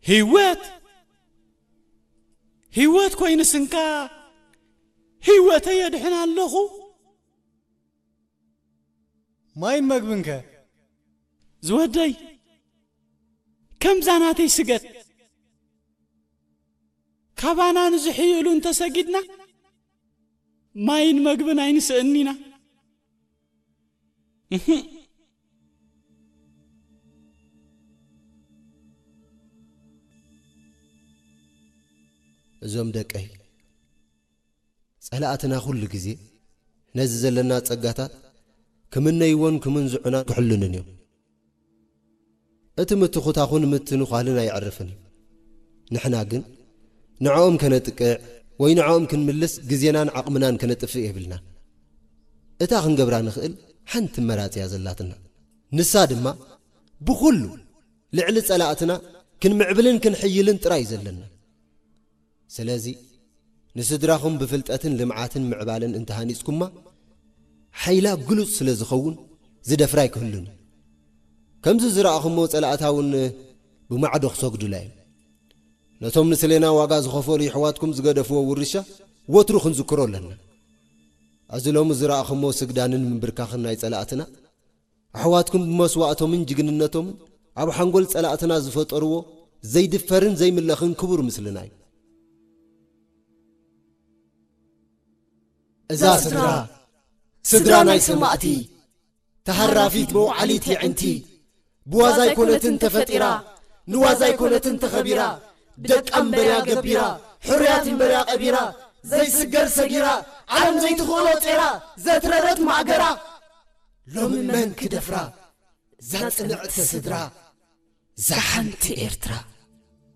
ህይወት፣ ህይወት ኮይኑ ስንካ ህይወተይ የድሕን ኣለኹ። ማይን መግብንከ? ዝወደይ፣ ከምዛ ናተይ ስገድ። ካባና ንዝሕይሉ እንተሰጊድና፣ ማይን መግብን ኣይንስእኒና። እህ። እዞም ደቀይ፣ ጸላእትና ኩሉ ግዜ ነዚ ዘለና ጸጋታት ክምነይዎን ክምንዝዑና ክሕሉንን እዮም። እቲ ምትኹታኹን ምትንዃልን ኣይዕርፍን እዩ። ንሕና ግን ንዕኦም ከነጥቅዕ ወይ ንዕኦም ክንምልስ ግዜናን ዓቕምናን ከነጥፍእ የብልናን። እታ ክንገብራ ንኽእል ሓንቲ መራጽ እያ ዘላትና። ንሳ ድማ ብኹሉ ልዕሊ ጸላእትና ክንምዕብልን ክንሕይልን ጥራይ እዩ ዘለና። ስለዚ ንስድራኹም ብፍልጠትን ልምዓትን ምዕባለን እንተሃኒጽኩማ፣ ሓይላ ግሉጽ ስለ ዝኸውን ዝደፍራ ኣይክህሉን እዩ። ከምዚ ዝረኣኹሞ ጸላእታ እውን ብማዕዶ ክሰግዱላ እዮም። ነቶም ንስሌና ዋጋ ዝኸፈሉ የሕዋትኩም ዝገደፍዎ ውርሻ ወትሩ ክንዝክሮ ኣለና። እዚ ሎሚ ዝረኣኹሞ ስግዳንን ምንብርካኽን ናይ ጸላእትና፣ ኣሕዋትኩም ብመስዋእቶምን ጅግንነቶምን ኣብ ሓንጎል ጸላእትና ዝፈጠርዎ ዘይድፈርን ዘይምለኽን ክቡር ምስልና እዩ። እዛ ስድራ፣ ስድራ ናይ ሰማእቲ፣ ተሃራፊት መውዓሊት የዕንቲ፣ ብዋዛ ኣይኮነትን ተፈጢራ፣ ንዋዛ ኣይኮነትን ተኸቢራ፣ ደቃ እምበርያ ገቢራ፣ ሕሩያት እምበርያ ቀቢራ፣ ዘይስገር ሰጊራ፣ ዓለም ዘይትኽእሎ ጼራ፣ ዘትረረት ማእገራ፣ ሎሚ መን ክደፍራ? እዛ ጽንዕቲ ስድራ፣ እዛ ሓንቲ ኤርትራ።